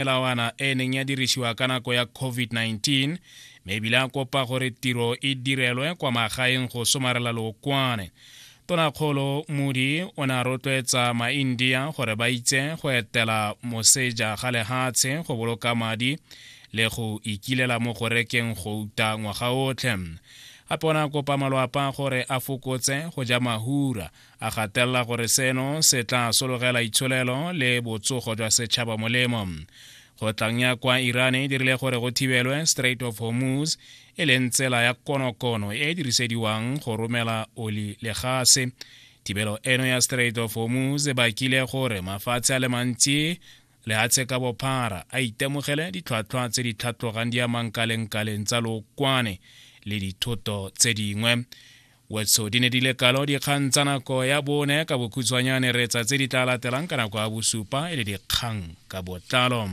Melawana e e neng ya dirisiwa ka nako ya COVID-19 mme ebile a kopa gore tiro e direlwe kwa magaeng go somarela lookwane. Tonakgolo Modi o ne a rotloetsa maIndia gore ba itse go etela moseja ga lehatshe go boloka madi le go ikilela mo go rekeng gouta ngwaga otlhe. Gape o ne a kopa malwapa gore a fokotse go ja mahura a gatelela gore seno se tla sologela itsholelo le botsogo jwa setšhaba molemo. Kgotlang ya kwa Iran e dirile gore go thibelwe Strait of Hormuz, e leng tsela ya konokono e e dirisediwang go romela oli le gase. Thibelo eno ya Strait of Hormuz e bakile gore mafatshe a le mantsi lehatshe ka bophara a itemogele ditlhwatlhwa tse di tlhatlogang di amang kalengkaleng tsa lookwane le dithoto tse dingwe. Wetso di ne di le kalo dikgang tsa nako ya bone ka bokhutshwanyane reetsa tse di tla latelang ka nako ya bosupa e le dikgang ka botlalo.